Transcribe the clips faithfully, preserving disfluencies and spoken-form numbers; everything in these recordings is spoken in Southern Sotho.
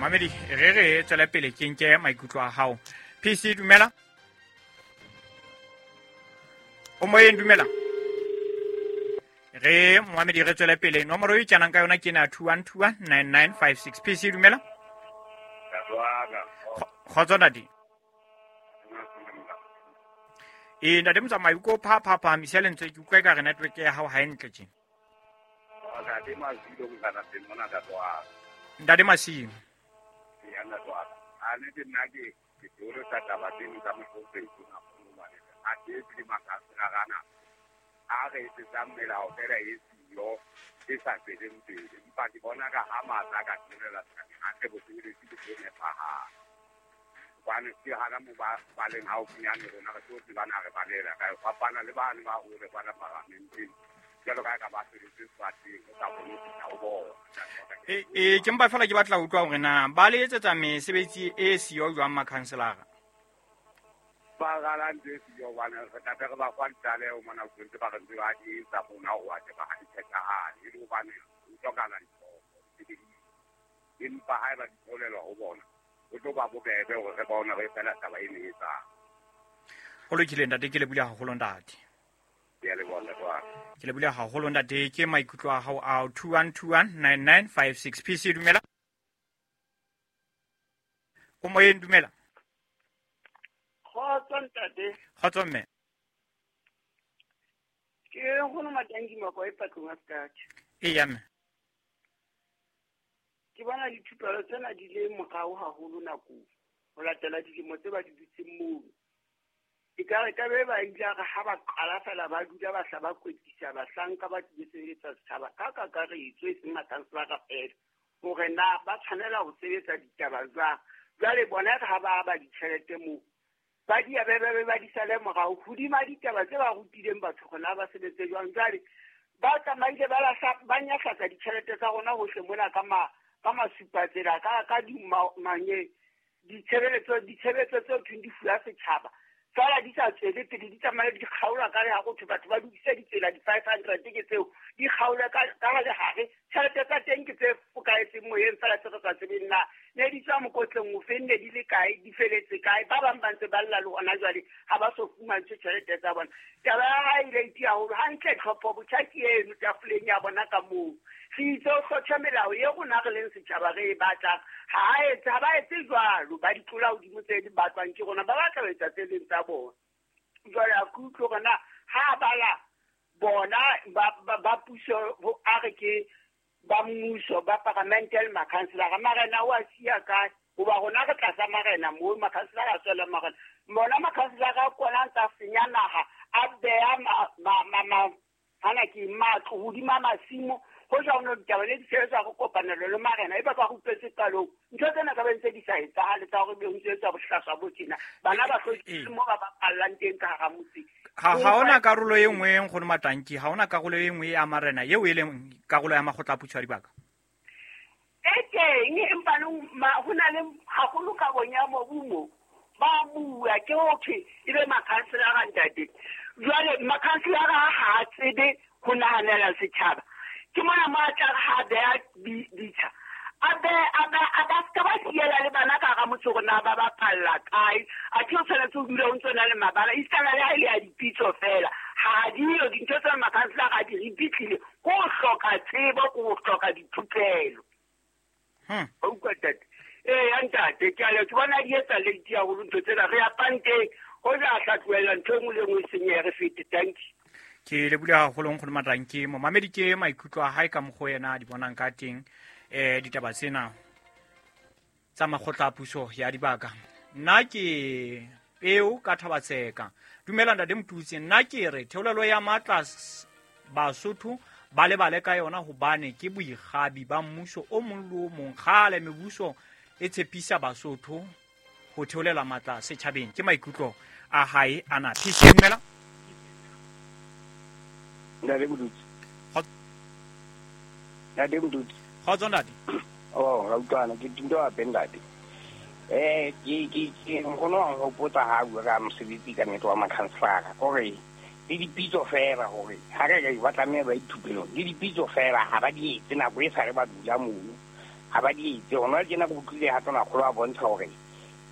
Mamedi, re re tswele pele ke nke maikutlo a hao. P C dumela. O moyeng dumela. Re Mohamedi re tswele pele nomoro e tjanang ka yona ke na two one two one nine nine five six. P C dumela. Kgotso ntate. E ntate motsamai ko pha pha pha misa lentswe ke utlwa ka re network ya hao ha e ntle tje. Ntate Masilo ngana teng mona ntate wa. Ntate Masilo. Ya ntate wa. A ne ke nna ke ke tlo tsa taba tseno tsa mohlomphehisi na mane. A ke di makasana a re etsang melao fela e siyo e sa tsweleng pele. Empa ke bona ka ha matla ka tswelela hantle bosebeletsi bo nepahala. Hobane ke hana mo ba ba leng haufinyane rona re tlo tsebana re balela ka fapana le bane ba hore bana paramenteng. Jwalo ka ka ba sebetse sefateng o sa kgone ho fihla ho bona. E e ke mpa fela ke batla ho utlwa hore na ba le etsetsa mesebetsi e siyo jwang makhanselara? Ba rala ntho e siyo hobane re tla re ba fa ditlaleho mona ho ntse ba re ntse ba di etsa rona ho wa ba ha di phethahale e le hobane ho hlokahala ditho. Empa haeba di tholelwa ho bona ho tlo ba bobebe hore re bone re fela taba e ne etsang. Ho lokile ntate, ke lebohile haholo ntate. Ke a leboha ntate wa ka. Ke lebohile haholo ntate, ke maikutlo a hao ao two one two one nine nine five six. P C dumela. O moyeng dumela. Kgotso ntate. Kgotso mme. Ke nkgono Matangi Mako e patlong a Sekatjha. Eya mme. Ke bona dithupelo tsena di le morao haholo nakong ho latela dilemo tse ba di dutseng mono. Ekare ka be ba ile re ha ba qala fela ba dula ba hla ba kwetlisa bahlanka ba tlile sebeletsa setjhaba ka kakaretso e seng makhanselara fela hore na ba tshwanela ho sebetsa ditaba jwang. Jwale bona ha ba ba ditjhelete moo ba di be be ba di sale morao hodima ditaba tse ba rutileng batho hore na ba sebetse jwang. Jwale ba tsamaile ba lahla ba nyahlatsa ditjhelete tsa rona hohle mona ka ma ka masupatsela ka ka di manye ditshebeletso ditshebetso tseo thweng di fuwa setjhaba fela di sa tswele pele di tsamaye di kgaolwa ka le ha go thwe batho ba lokise ditsela di five hundred ke tseo di kgaolwe ka ka lehare tjhelete tsa teng ke tse fokaetseng moyeng fela tse re sa tsebeng na ne di tswa mokotleng ofe ne di le kae di feletse kae. Ba bang ba ntse ba lla le hona jwale ha ba so fumantshwe tjhelete tsa bona. Taba ya hae ile e tia haholo hantle tlhopho botjha ke eno tafoleng ya bona ka moo re itse ho hlotjha melao e rona re leng setjhaba re e batlang. Ha a etse ha ba etse jwalo ba di tlola hodimo tse di batlwang ke rona ba batla ho etsa tse leng tsa bona. Jwale a ke utlwe hore na ha bala bona ba ba puso a re ke ba mmuso ba paramente le makhanselara marena o a siya kae hoba rona re tlasa marena moo makhanselara a tswela marena bona makhanselara a kona a ntsa senya naha a beha ma ma ma hana ke matlo hodima masimo ho ja ono ditaba le di sebetswa go kopanelo le marena e ba ba rupetse qalong ntho tsena ka bentse di sa etsahale tsa hore be ho ntse tsa bohlaswa bo tjena bana ba hlokile mo ba bapallang teng ka hara motse. Ha ha ona karolo e nngwe nkgono Matanki, ha ona karolo e nngwe ya marena eo e leng karolo ya makgotla a puso ya dibaka. E teng empa ho na le haholo ka bonya mobu mo ba bua ke ho thwe e be makhanselara ntate. Jwale makhanselara ha a tsebe ho nahanela setjhaba. Ke mona mo a tla ha beha ditsha a be a ba a ba ska ba siela le bana ka hara motse hore na ba bapalla kae a ke o tshwanetse ho dula o ntso na le mabala isitana le ha e le ya dipitso fela ha diyo dintho tsa makhanselara a di ripitlile ko ho hloka tsebo ko ho hloka dithupelo. Hmm. O utlwa ntate? Ee ntate ke a le ke bona di etsa late haholo ntho tsena re ya panteng ho ja tla tlohella ntho e nngwe le nngwe e senyehe re fete. Thank you. Ke lebohile haholo nkgono Matanki. Momamedi ke maikutlo a hae ka mokgwa yena a di bonang ka teng eh ditaba tsena tsa makgotla a puso ya dibaka. Nna ke peo ka Thabatseka. Dumela ntate Motutsi, nna ke re theolelo ya matla Basotho ba lebale ka yona hobane ke boikgabi ba mmuso o mong le o mong. Kgale mebuso e tshepisa Basotho ho theolela matla setjhabeng. Ke maikutlo a hae ana. P C dumela. Ntate Motutsi. Ntate Motutsi. Kgotso ntate. Oh, ra utlwana ke tinto hape ntate. Eh ke ke ke nkgono wa hopotsa ha bua ka mosebetsi ka nnete wa makhanselara kore le dipitso fela hore ha re re ba tlameha ba ithupelong le dipitso fela ha ba di etse nako e sa re ba dula mono. Ha ba di etse hona tjena ke utlwile ha Tonakgolo a bontsha hore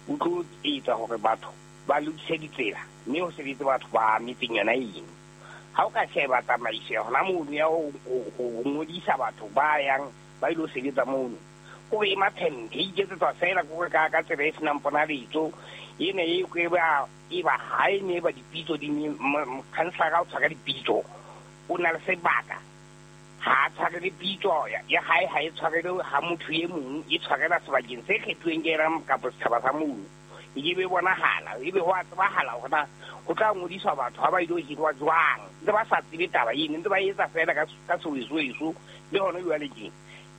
o tlo etsa hore batho ba lokise ditsela mme ho sebetse batho ba metseng yona eno. Ha o ka sheba tsamaiso ya hona mono ya ho ngodisa batho ba yang ba ilo sebetsa mono, kore e maphente e iketsetswa fela kore ka ka tsela e senang ponaletso ena e e ba e ba ha e ne ba dipitso di councillor o tshwara dipitso o na le sebaka ha a tshwarele pitso ya hae ha e tshwarele ha motho e mong e tshwarela sebakeng se kgethuweng ke ena kapa setjhaba sa mono. E be bonahala e be ho a tsebahala hore na ho tla ngodiswa batho ha ba ilo hirwa jwang, ntse ba sa tsebe taba eno, ntse ba etsa fela ka ka sewesoweso le hona jwale tjena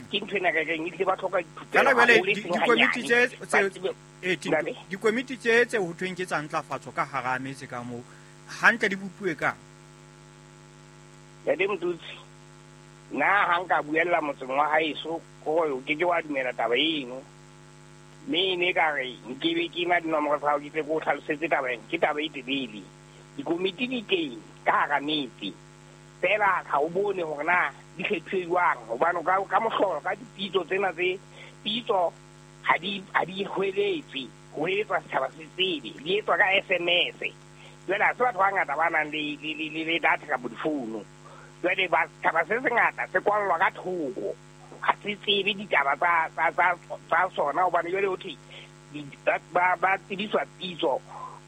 ke ntho ena ka reng ehlile ba hloka dithupelo haholo e seng Dikomiti hanyane. tse Ba tse tsebe eh, Tinto, ntate. dikomiti tse tse ho thweng ke tsa ntlafatso ka hara metse ka moo hantle di bopuwe kang? Ntate Motutsi, nna ha nka buella motseng wa haeso kore o keke wa dumela taba eno, mme e ne ka re nkebe ke na dinomoro tsa hao ke tle ke o hlalosetse taba ena, ke taba e telele. Dikomiti di teng ka hara metse fela ha o bone hore na di kgethuwe jwang, hobane ka ka mohlolo ka dipitso tsena tse pitso ha di ha di hweletse ho etswa setjhaba se tsebe, di etswa ka S M S. Jwale ha se batho ba bangata ba nang le le le le data kapa difounu. Jwale ba setjhaba se sengata se kwallwa ka thoko, ha se tsebe ditaba tsa tsa tsa tsa sona, hobane jwale ho thwe ba ba ba tsebiswa pitso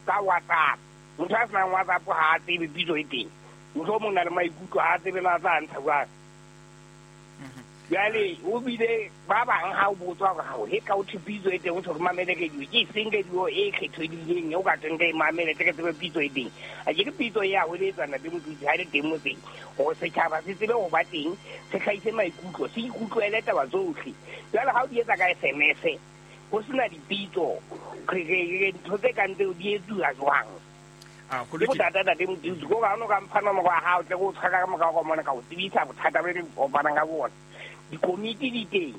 ka WhatsApp. Motho a senang WhatsApp ha a tsebe pitso e teng, mohlomong o na le maikutlo ha a tsebe na tla ntsha jwang. Jwale o bile ba bang ha o botswa hore ha o he ka o thwe pitso e teng, o thwe re mamele radio, ke eseng radio e kgethehileng eo ka tweng re e mamele tle re tsebe pitso e teng. A ke re pitso e ya hweletsa Ntate Motutsi ha e le teng motseng hore setjhaba se tsebe ho ba teng, se hlahise maikutlo, se ikutlwele taba tsohle. Jwale ha o di etsa ka S M S ho sena dipitso, re re re ntho tse kang tseo di etsuwa jwang? Ah, ho Ke lokile. bothata Ntate Motutsi, ke hore ha o no ka mpha nomoro ya hao tle ke o tshwara ka morao ka mona ka o tsebisa bothata bo re kopanang ka bona. Dikomiti di teng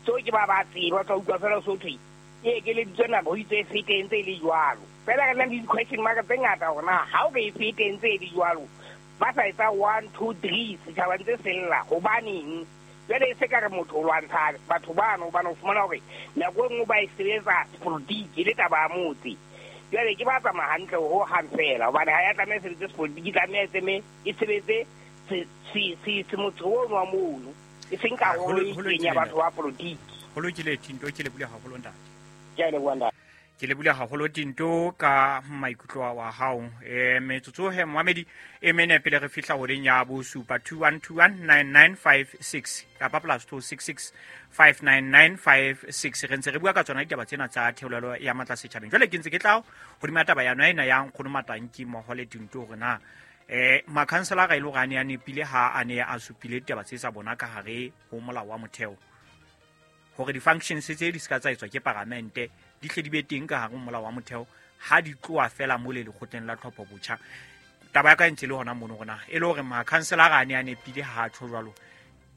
tseo ke ba ba tseba, tla utlwa fela so thwe e ekeleditswe nako ho itse e fete e ntse e le jwalo. Fela re na le di-question mark tse ngata hore na ha o re e fete e ntse e le jwalo, ba sa etsa one two three setjhaba ntse se lla hobaneng? Jwale e se ka re motho o lwantsha batho bano, hobane o fumana hore nako e nngwe ba e sebetsa sepolotiki e le taba ya motse. Jwale ke ba tsamaya hantle ho hang fela, hobane ha ya tlameha e sebetse sepolotiki, e tlameha e tseme e sebetse se se se se motse ono wa mono, e seng Ah, ho karolo lo- e ho itseng lokile ya batho ntate. ba polotiki. Ho lokile Tinto, ke lebohile haholo ntate. Ke a leboha ntate. Ke lebohile haholo Tinto ka maikutlo wa hao. Eh, metsotso he momamedi e mene pele re fihla horeng ya bosupa two one two one nine nine five six kapa plus two six six five nine nine five six. Re ntse re bua ka tsona ditaba tsena tsa theolelo ya matla setjhabeng. Jwale ke ntse ke tla hodima taba ya ena ya Nkgono Matanki mmoho le Tinto hore na eh makhanselara e le hore a ne a nepile ha a ne a supile ditaba tse sa bona ka hare ho molao wa motheo, hore di-functions tse di ska tsa etswa ke paramente di hle di be teng ka hare ho molao wa motheo ha di tloha fela mole lekgotleng la tlhopho botjha. Taba ya ka e ntse e le hona mono hore na e le hore makhanselara a ne a nepile ha a tjho jwalo,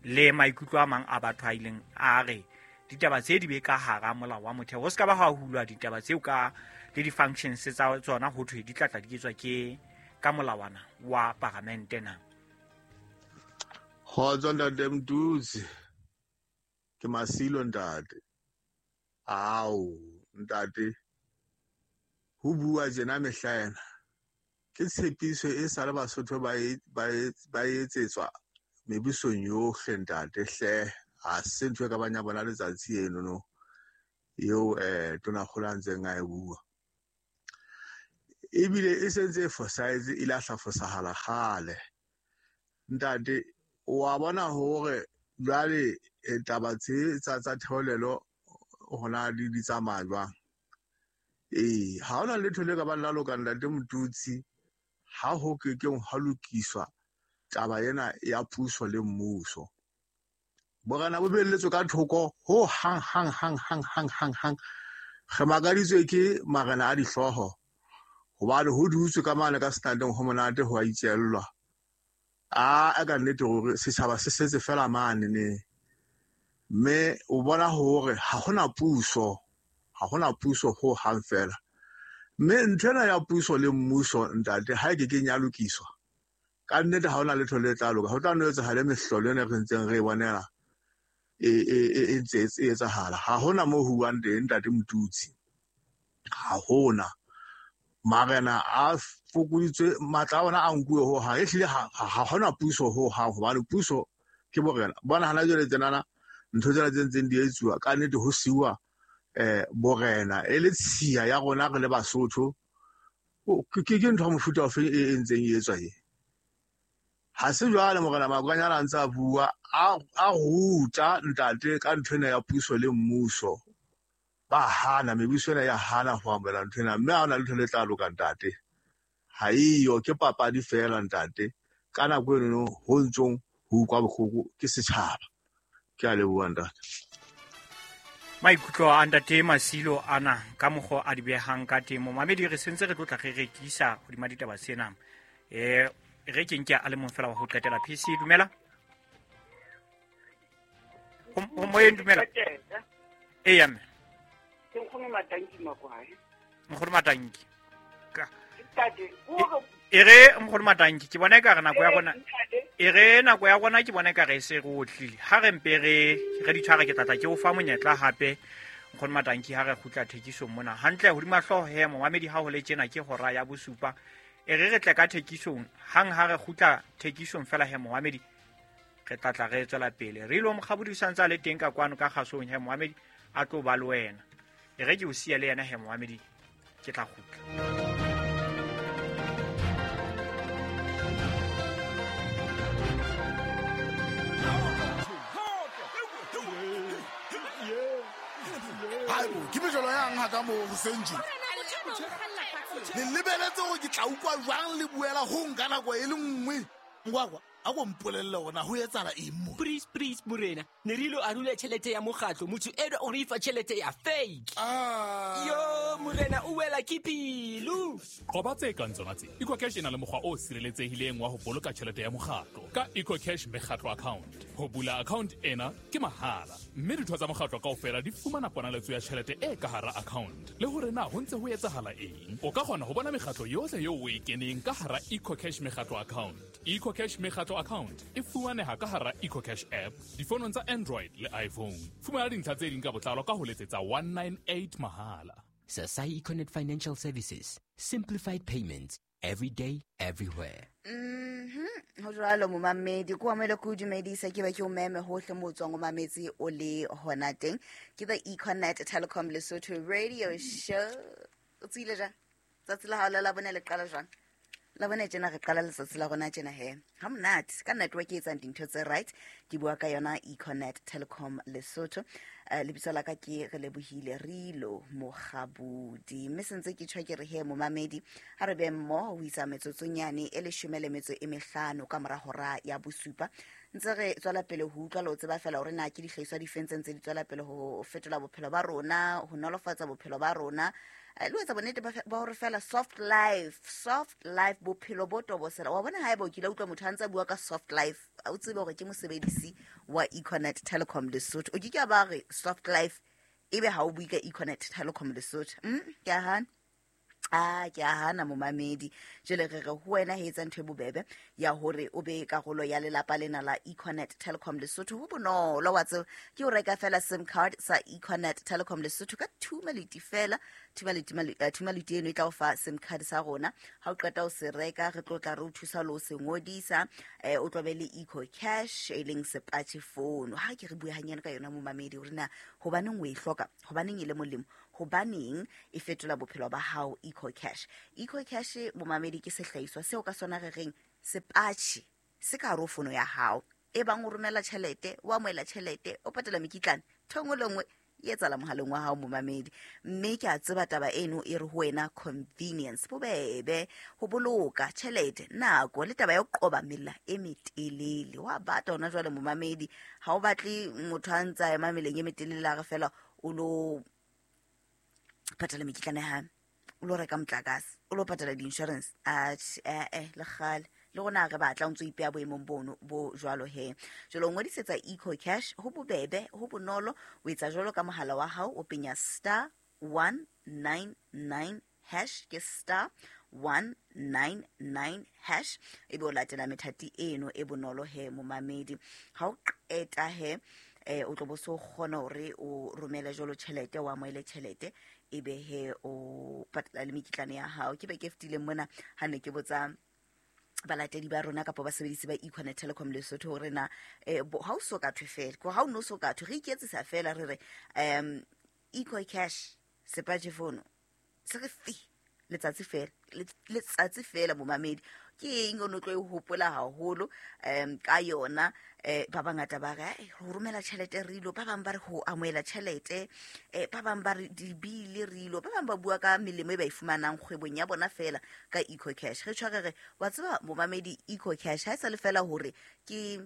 le maikutlo a mang a batho a ileng a re ditaba tse di be ka hara molao wa motheo, ho ska ba ha hulwa ditaba tseo ka le di-functions tsa tsona ho thwe di tla tla di etswa ke ka molawana wa paramente na. Kgotso Ntate Motutsi, ke Masilo ntate. Ao ntate, ho bua tjena mehla ena ke tshepiso e sa le Basotho ba e, ba e, ba e etsetswa mebusong yohle ntate hle. Ha se ntho e ka bang ya bona letsatsi eno no eo eh Tonakgolo a ntseng a e bua. Ebile e sentse e fosahetse, e lahla fosahala kgale. Ntate, wa bona hore jwale eh, taba tse tsa tsa theolelo hona di di tsamaya jwang? Ee, ha hona letho le ka bang la loka Ntate Motutsi ha ho ke keng ha lokiswa taba ena ya puso le mmuso. Borena bo belletswe ka thoko ho hang hang hang hang hang hang hang. Re makaditswe ke marena a dihlooho hobane ho dutswe ka mane ka standeng ho monate ho a itjellwa. A a ka nnete hore setjhaba se setse fela mane ne. Mme o bona hore ha hona puso, ha hona puso ho hang fela. Mme nthwena ya puso le mmuso ntate ha e ke keng ya lokiswa, ka nnete ha hona letho le tla loka. Ho tla no etsahale mehlolo ena re ntseng re e bonela e e ntse e etsahala. Ha hona mo ho buang teng ntate Motutsi, ha hona. Marena a fokoditswe matla a ona a nkuwe ho hang, ehlile ha hona puso ho hang, hobane puso ke borena. Bona hana jwale tsenana ntho tsena tse ntseng di etsuwa ka nnete ho siuwa eh borena e le tshiya ya rona re le Basotho. Ke ke ntho ya mofuta ofe e ntseng e etswa e? Ha se jwale morena Makwanyane a ntse a bua a ruta ntate ka ntho ena ya puso le mmuso. Ba hana, mebuso ena ya hana ho amohela ntho ena, mme ha hona letho le tla loka ntate. Ha eyo, ke papadi feela ntate. Ka nako eno ho ntsong ho utlwa bohloko ke setjhaba. Ke a leboha ntate. Maikutlo a ntate Masilo ana ka mokgwa a di behang ka teng. Momamedi re sentse re tlotla re rekisa hodima ditaba tsena. Eh re ke nke a le mong fela wa ho qetela. P C dumela. O moyeng dumela. Eya mme. Ke nkgono Matanki Makwae. Nkgono Matanki. Ka. Ntate, o e re nkgono Matanki ke bona e ka re nako ya rona. E re nako ya rona ke bona e ka re se re otlile. Ha re mpe re re di tshware ke tlatla ke o fa monyetla hape nkgono Matanki ha re kgutla thekisong mona. Hantle hodima hlooho he momamedi ha ho le tjena ke hora ya bosupa. E re re tle ka thekisong hang ha re kgutla thekisong fela he momamedi re tlatla re tswela pele. Re ilo mokgabodi o santse a le teng ka kwano ka kgasong he momamedi a tlo ba le wena. E re ke o siya le yena he momamedi ke tla kgutla. Ke mejolo yang ha ka mo hoseng tje. Le lebeletse hore ke tla utlwa jwang le buela ho nka nako e le nngwe. Ngwakwa a go mpolelle hore ho etsahala eng mo. Please please morena, ne re ilo arula tjhelete ya mokgatlo, motho eno o re fa tjhelete ya fake. Ah. Yo morena o wela ke pelo. Qoba tse kang tsona tse. EcoCash e na le mokgwa o sireletsehileng wa ho boloka tjhelete ya mokgatlo ka EcoCash mekgatlo account. Ho bula account ena ke mahala, mme ditho tsa mokgatlo kaofela di fumana ponaletso ya tjhelete e ka hara account. Le hore na ho ntse ho etsahala eng. O ka kgona ho bona mekgatlo yohle eo o e keneng ka hara EcoCash mekgatlo account. EcoCash mekgatlo account e fumaneha ka hara EcoCash app difonong tsa Android le iPhone. Fumana dintlha tse ding ka botlalo ka ho letsetsa one nine eight mahala. Sasai Econet Financial Services. Simplified payments every day, everywhere. Mhm. Ho jwalo momamedi, ko amele ko dumedisa ke ba ke o meme hohle mo tswang o mametse o le hona teng. Ke the Econet Telecom Lesotho Radio Show. O tsile jang? Tsatsi la hao la bone le qala jwang? La bone tjena re qala letsatsi la rona tjena he. Ha monate ka network e etsang dintho tse right. Ke bua ka yona Econet Telecom Lesotho. Uh, lebitso la ka ke re lebohile Rilo Mokgabudi. Mme sentse ke tjho ke re he momamedi ha re be mmoho ho isa metsotsonyane e leshome le metso e mehlano ka mora hora ya bosupa. Ntse re tswela pele ho utlwa le ho tseba fela hore na ke dihlahiswa di feng tse ntse di tswela pele ho fetola bophelo ba rona, ho nolofatsa bophelo ba rona. Le ho etsa bonnete ba hore fela soft life, soft life bophelo bo tobosela. Wa bona haeba o kile utlwa motho a ntse a bua ka soft life, o tsebe hore ke mosebedisi wa Econet Telecom Lesotho. O ke ke ba re soft life ebe ha o bue ka Econet Telecom Lesotho. Mm, ke a hana. Ah, ke a hana momamedi. Jwale re re ho wena he etsa ntho e bobebe ya hore o be karolo ya lelapa lena la Econet Telecom Lesotho. Ho bonolo wa tseba ke o reka fela SIM card sa Econet Telecom Lesotho ka thumaliti fela. Thumaliti thumaliti eno e tla o fa SIM card sa rona. Ha o qeta o se reka re tlo tla re o thusa le ho se ngodisa. Eh o tlo be le Eco Cash e leng sepatjhe phone. Ha ke re bue hanyane ka yona momamedi hore na hobaneng o e hloka, hobaneng e le molemo, hobaneng e fetola bophelo ba hao Eco Cash. Eco Cash momamedi ke sehlahiswa seo ka sona re reng sepatjhe se ka hare ho fono ya hao. E bang o romela tjhelete, o amohela tjhelete, o patala mekitlane, ntho e nngwe le nngwe e etsahala mohaleng wa hao momamedi. Mme ke a tseba taba eno e re ho wena convenience, bobebe, ho boloka tjhelete, nako le taba ya ho qoba mela e metelele. Wa bata hona jwale momamedi, ha o batle motho a ntsa ema meleng e metelele a re fela o lo patala mekitlane ha o lo reka motlakase, o lo patala di-insurance. Atjhe, eh eh le kgale le rona re batla o ntso ipeha boemong bono bo jwalo he. Jwale o ngodisetsa Eco Cash ho bobebe, ho bonolo. O etsa jwalo ka mohala wa hao, o penya star one nine nine hash, ke star one nine nine hash, ebe o latela methati eno e bonolo he momamedi. Ha o qeta he eh o tlo bo so kgona hore o romele jwalo tjhelete, o amohele tjhelete, ebe he o patala le mekitlane ya hao. Ke be ke fetileng mona ha ne ke botsa balatedi ba rona kapa basebedisi ba Econet Telecom Lesotho hore na eh, ha o so ka thwe fela, ko ha o no so ka thwe, re iketsisa fela re re um EcoCash sepatjhe fono se re fi letsatsi fela, letsatsi fela momamedi, ke eng o no tlo e hopola haholo um ka yona? Eh ba bangata ba re ho romela tjhelete re ilo, ba bang ba re ho amohela tjhelete, eh ba bang ba re dibile re ilo, ba bang ba bua ka melemo e ba e fumanang kgwebong ya bona fela ka EcoCash. Re tshware re wa tseba momamedi, EcoCash ha e sa le fela hore ke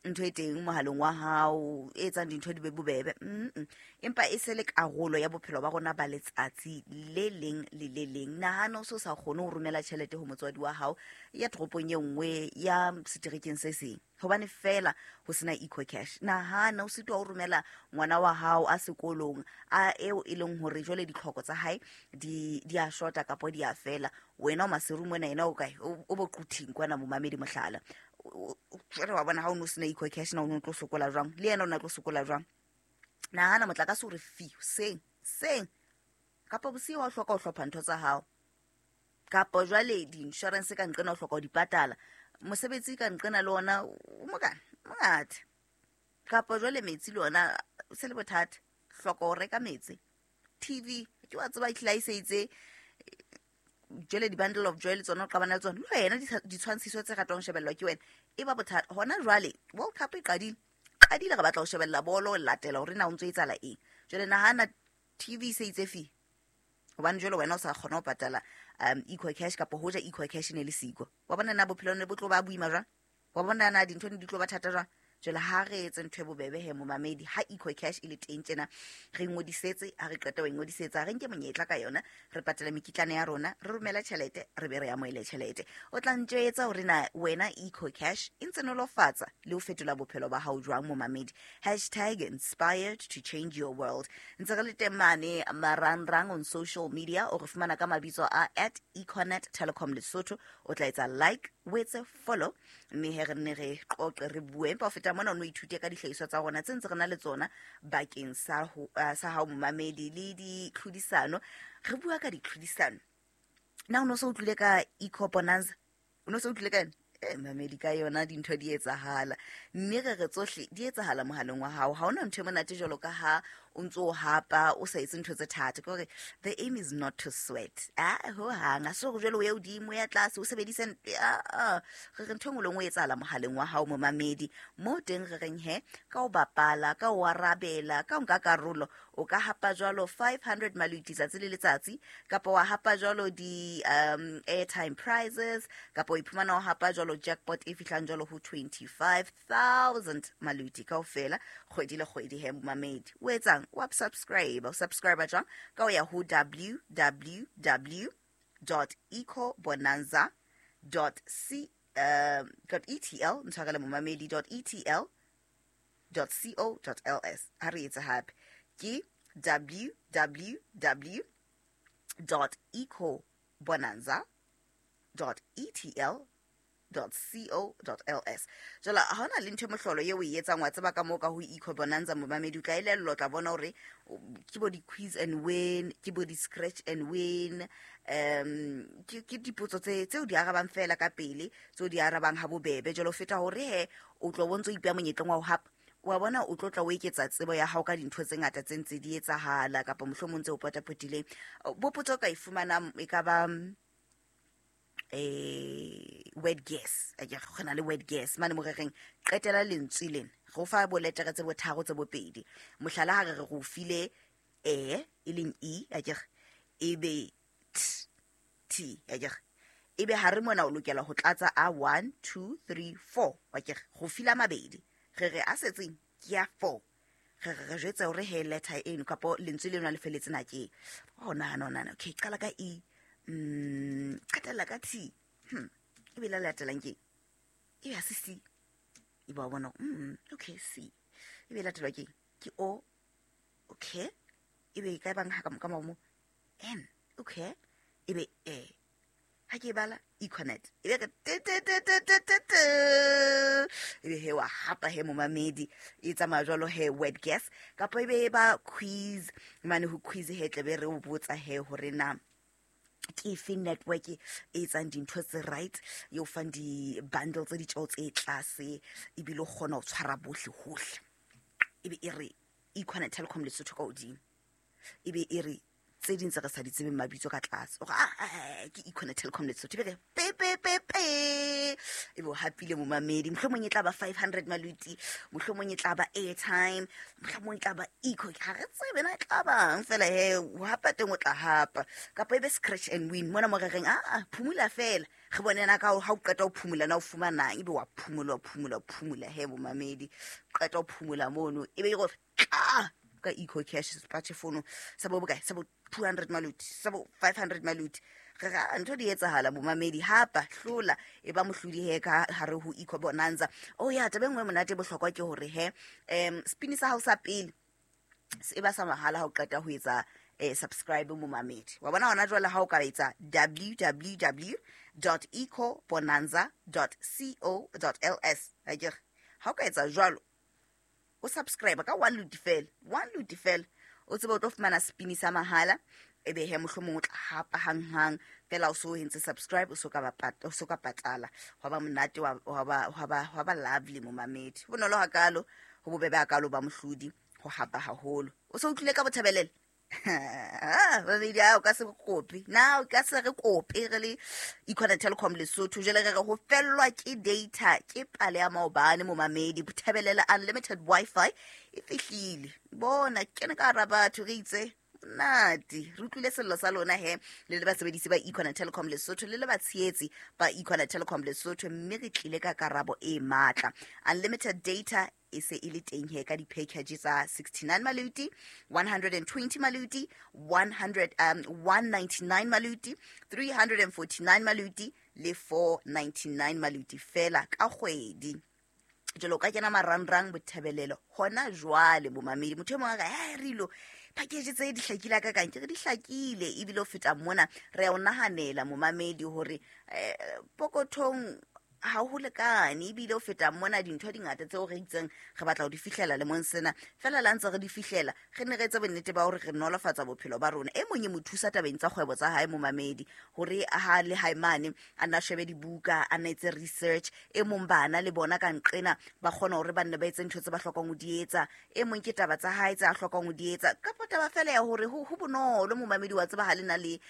ntho e teng mohaleng wa hao e etsang dintho di be bobebe, mm empa e se le karolo ya bophelo ba rona ba letsatsi le leng le le leng. Nahana o so sa kgone ho romela tjhelete ho motswadi wa hao ya toropong e nngwe ya seterekeng se seng hobane fela ho sena EcoCash. Nahana o sitwa ho romela ngwana wa hao a sekolong a eo e leng hore jwale ditlhoko tsa hae di di a shota kapa di a fela, wena o Maseru mona, yena o kae? O bo Quthing kwana momamedi, mohlala. Jwale wa bona ha o no sena EcoCash na o no tlo sokola jwang, le yena o na tlo sokola jwang? Nahana motlakase o re fi seng seng kapa bosiu wa hloka ho hlopha ntho tsa hao, kapa jwale di-insurance ka nqena o hloka ho di patala, mosebetsi ka nqena le ona o mokana mongata, kapa jwale metsi le ona se le bothata, hloka ho reka metsi, T V ke wa tseba e hlahiseditse jwale di-bundle of joy le tsona o qabana le tsona, le wena ditshwantshiso tse ratwang ho shebellwa ke wena e ba bothata. Hona jwale World Cup e qadile, qadile re batla ho shebella bolo, latela hore na o ntso etsahala eng. Jwale nahana T V se itse fi hobane jwale wena o sa kgona ho patala um EcoCash kapa hoja EcoCash ne le siko, wa bona na bophelo ne bo tlo ba boima jwang, wa bona na dintho ne di tlo ba thata jwang. Jwale ha re etse ntho e bobebe he momamedi, ha EcoCash e le teng tjena re ngodisetse, ha re qeta ho ingodisetsa re nke monyetla ka yona, re patale mekitlane ya rona, re romela tjhelete, re be re amohele tjhelete. O tla ntjwetsa hore na wena EcoCash e ntse nolofatsa le ho fetola bophelo ba hao jwang momamedi. Hashtag inspired to change your world. Ntse re le teng mane marangrang on social media, o re fumana ka mabitso a at Econet Telecom Lesotho. O tla etsa like, o etse follow, mme he re nne re qoqe re bue. Empa ho feta mona o no ithute ka dihlahiswa tsa rona tse ntse re na le tsona bakeng sa ho sa hao momamedi le ditlhodisano. Re bua ka ditlhodisano. Na o no so utlwile ka Eco Bonanza? O no so utlwile ka eng? Eh mamedi, ka yona dintho di etsahala, mme re re tsohle di etsahala mohaleng wa hao. Ha hona ntho e monate jwalo ka ha o ntso o hapa o sa etse ntho tse thata. Ke hore the aim is not to sweat, ah ho hang a so jwalo o ya hodimo ya tlase o sebedise, ah re re ntho e nngwe le nngwe e etsahala mohaleng wa hao momamedi. Mo teng re reng he ka o bapala, ka o arabela, ka o nka karolo, o ka hapa jwalo five hundred maluti tsatsi le letsatsi, kapa wa hapa jwalo di um airtime prizes, kapa o iphumana o hapa jwalo jackpot e fihlang jwalo ho twenty-five thousand maluti kaofela kgwedi le kgwedi he momamedi. O etsang? Wa subscribe, o subscribe jwang? Ka o ya ho w w w dot ecobonanza dot c dot e t l, ntshwarele momamedi, dot e t l dot co dot l s. Ha re etse hape ke w w w dot ecobonanza dot e t l dot co dot l s. Jwale ha hona le ntho e mohlolo eo o e etsang, wa tseba ka moo ka ho Eco Bonanza momamedi, o tla elellwa, o tla bona hore ke bo di-quiz and win, ke bo di-scratch and win, um ke ke dipotso tse tseo di arabang fela ka pele, tseo di arabang ha bobebe. Jwale ho feta hore he o tlo bo ntso ipeha monyetleng wa ho hapa, wa bona o tlo tla o eketsa tsebo ya hao ka dintho tse ngata tse ntse di etsahala, kapa mohlomong tse o potapotileng. Bo potso o ka e fumanang e ka ba eh word guess, a ke gona le word guess mane mo re reng qetela lentswe lena, go fa bo letere tse botharo tse bopedi. Mohlala ha re re go file e e leng e, a ke e be t t, a ke e be ha re mona o lokela ho tlatsa a one two three four, a ke go fila mabedi, re re a setseng ke ya four, re re re jwetsa hore he letter eno kapa lentswe lena le feletse na ke oh nahana nahana okay qala ka e, mm qetella ka t, hmm e be la latelang ke e be se c, e ba bona mm okay c, e be latelwa ke ke o, okay e be ka bang ha ka mo n, okay e be e Ha ke bala Econet e be re te te te te te te te e be he wa hapa he momamedi e tsamaya jwalo he word guess kapa e be ba quiz mane ho quiz he tle be re o botsa he hore na ke efe network e etsang dintho tse right e o fang di-bundle tse ditjeo tse tlase ebile o kgona ho tshwara bohle hohle e be e re Econet Telkom Lesotho ka hodimo e be e re tse ding tse re sa di tsebeng mabitso ka tlase o re ah ke Econet Telkom Lesotho e be re pe pe pe pe e be o hapile momamedi mohlomong e tla ba five hundred maluti mohlomong e tla ba airtime mohlomong e tla ba eco ha re tsebe na e tla bang fela he o hapa teng o tla hapa kapa e be scratch and win mona mo re reng ah phumula fela re bone na ka ha o qeta ho phumula na o fumanang ebe wa phumula phumula phumula he momamedi qeta ho phumula mono ebe e go tla ka eco cash sepatjhe fono sa bo bokae sa bo two hundred maluti sa bo five hundred maluti re ra ntho di etsahala momamedi hapa hlola e ba mohlodi he ka hare ho Eco Bonanza. Oh ya taba e nngwe monate bohlokwa ke hore he um spin sa hao sa pele e ba sa mahala ha o qeta ho etsa eh, subscribe momamedi wa bona hona jwale ha o ka etsa w w w dot eco bonanza dot co dot l s akere ha o ka etsa jwalo o subscribe ka one luti fela one luti fela o tsebe o tlo fumana spin sa mahala e be he mohlomong o tla hapa hanghang fela o so entse subscribe o so ka ba o so ka patala hwa ba monate wa ba hwa ba hwa ba lovely momamedi bonolo hakalo ho bobebe hakalo ba mohlodi ho hapa haholo o so utlwile ka bothabelele ah babedi a o ka se kope na o ka se re kope re le Econet Telkom Lesotho jwale re re ho fellwa ke data ke pale ya maobane momamedi bothabelele unlimited wifi e fihlile bona kene ka hara batho re itse nati re utlwile sello sa lona he le le basebedisi ba Econet Telkom Lesotho le le batshehetsi ba Econet Telkom Lesotho mme re tlile ka karabo e matla unlimited data e se e le teng he ka di-package tsa sixty-nine maluti one hundred twenty maluti one hundred um one ninety-nine maluti three hundred forty-nine maluti le four ninety-nine maluti fela ka kgwedi jalo ka kena marangrang bothabelelo hona jwale bomamedi motho e mongwe a ka he rilo package tse di hlakile ka kang ke re di hlakile ebile o feta mona re a o nahanela momamedi hore eh, pokothong ha ho lekane ebile o feta mona dintho di ngata tseo re itseng re batla ho di fihlela le mong sena fela la ntse re di fihlela re ne re etse bonnete ba hore re nolofatsa bophelo ba rona e mong e mo thusa tabeng tsa kgwebo tsa hae momamedi hore ha le hae mane a nna shebe dibuka a nna etse research e mong bana le bona ka nqena ba kgona hore ba nne ba etse ntho tse ba hlokang ho di etsa e mong ke taba tsa hae tse a hlokang ho di etsa kapa taba fela ya hore ho bonolo momamedi wa tseba ha le na le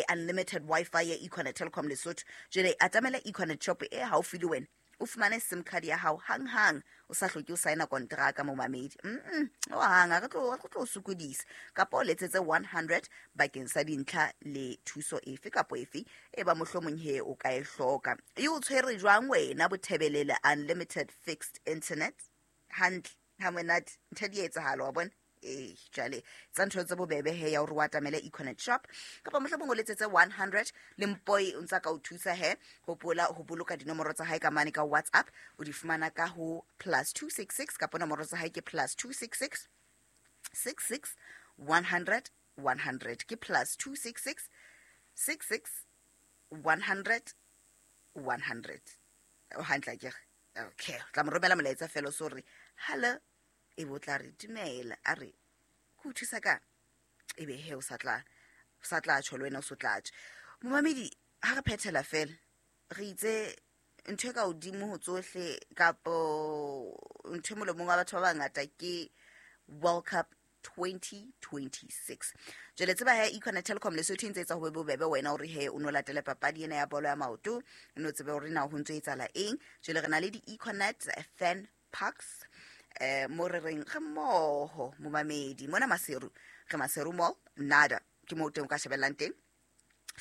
unlimited wifi ya Econet Telkom Lesotho jwale atamela Econet shop e haufi le wena o fumane sim card ya hao hang hang o sa hloke o signa kontraka momamedi mm o hang re tlo re tlo sokodisa kapa o letsetse one hundred bakeng sa dintlha le thuso efe kapa efe e ba mohlomong he o ka e hloka e o tshwere jwang wena bothebelele unlimited fixed internet hantle ha monate ntho di etsahala wa bona eh jwale tsa ntho tse bobebe he ya hore o atamele Econet shop kapa mohlomong o letsetse one hundred le Mpoi o ntsa ka o thusa he hopola ho boloka dinomoro tsa hae ka mane ka WhatsApp o di fumana ka ho plus two six six kapa nomoro tsa hae ke plus two six six six six one hundred one hundred ke plus two six six six six one hundred one hundred o hantle ke okay tla mo romela molaetsa fela so re hello e bo tla re dumela a re ke o thusa ka e be he o sa tla o sa tla tjho le wena o so tla tjho momamedi ha re phethela fela re itse ntho e ka hodimo ho tsohle kapo ntho e molomong wa batho ba bangata ke World Cup twenty twenty-six jwale tseba he Econet Telkom Lesotho e ntse etsa ho be bobebe wena hore he o no latele papadi ena ya bolo ya maoto o no tsebe hore na ho ntso etsahala eng jwale re na le di-Econet fan parks eh mo re reng re mmoho momamedi mona Maseru re Maseru Mall nada ke mo teng o ka shebellang teng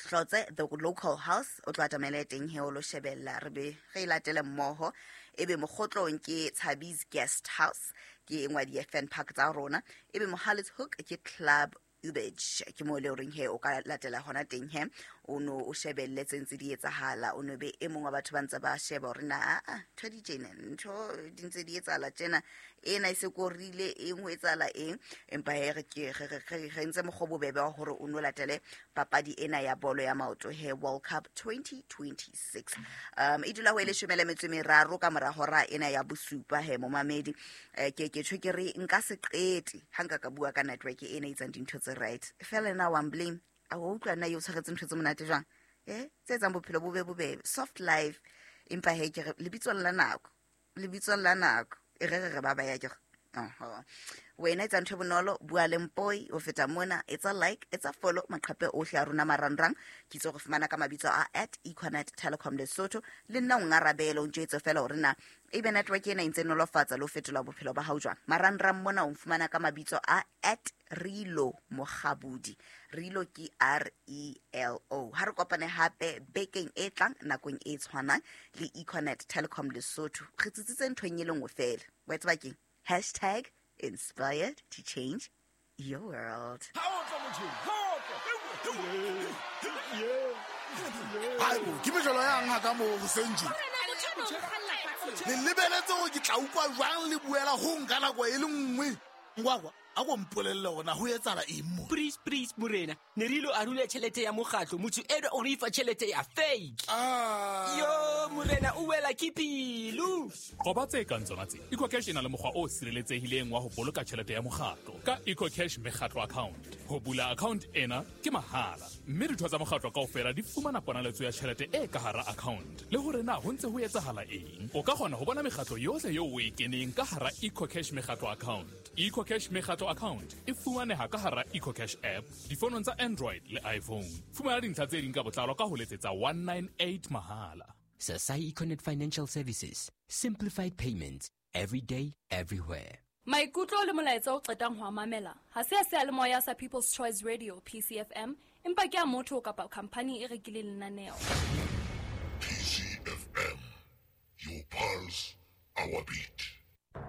Hlotse the local house o tlo atamele teng he o lo shebella re be re latele mmoho ebe mokgotlong ke Thabi's guest house ke engwe di F N park tsa rona ebe Mohale's Hook ke Club Ubage ke mo le horeng he o ka latela hona teng he o no o shebelle tse ntse di etsahala o no be e mongwe wa batho ba ntse ba sheba hore na a ntho di tjena ntho di ntse di etsahala tjena Ena e se korile eng ho etsahala eng, empa he re ke re re re ntse mokgwa bobebe wa hore o no latele papadi ena ya bolo ya maoto he World Cup twenty twenty-six. Um e dula ho e leshome le metso e meraro ka mora hora ena ya bosupa he momamedi. Eh, ke ke tjho ke re nka se qete ha nka ka bua ka network ena e etsang dintho tse right. Fela na wa blame a o utlwa nna yo tshwaretse ntho tse monate jwang, eh tse etsang bophelo bo be bobebe, soft life. Empa he ke re lebitsong la nako, lebitsong la nako e re re re ba ba ya ke oho wena etsa ntho e bonolo, bua le Mpoi o feta mona, etsa like, etsa follow maqhape ohle a rona marangrang. Ke itse go fumana ka mabitso a at Econet Telecom Lesotho. Le nna o ngarabele o ntjwetse fela hore na ebe network ena e ntse nolofatsa le ho fetola bophelo ba hao jwang. Marangrang mona o fumana ka mabitso a at Rilo Mokgabudi. Rilo ke R E L O. Ha re kopane hape bekeng e tlang nakong e tshwanang le Econet Telecom Lesotho. Re tsitsitse nthong e le nngwe fela. Wa tseba keng? Hashtag inspired to change your world. Hayibo, ke mejolo yang ha ka mo hoseng tje. Le lebeletse hore ke tla utlwa jwang le buela ho nka nako e le nngwe. Ngwakwa, a ko mpolelle hore na ho etsahala eng mo. Please, please, morena. Ne re ilo arula tjhelete ya mokgatlo, motho enwa o re fa tjhelete ya fake. Ah. Yo, morena o wela ke pelo. Qoba tse kang tsona tse. EcoCash e na le mokgwa o sireletsehileng wa ho boloka tjhelete ya mokgatlo ka EcoCash mekgatlo account. Ho bula account ena ke mahala, mme ditho tsa mokgatlo kaofela di fumana ponaletso ya tjhelete e ka hara account. Le hore na ho ntse ho etsahala eng. O ka kgona ho bona mekgatlo yohle eo o e keneng ka hara EcoCash mekgatlo account. EcoCash mekgatlo account e fumaneha ka hara EcoCash app difonong tsa Android le iPhone. Fumana dintlha tse ding ka botlalo ka ho letsetsa one nine eight mahala. Sasai Econet Financial Services. Simplified payments. Every day, everywhere. Maikutlo le molaetsa o qetang ho mamela ha se a seyalemoya sa People's Choice Radio P C F M, empa ke a motho kapa company e rekileng lenaneo. P C F M, your pulse, our beat.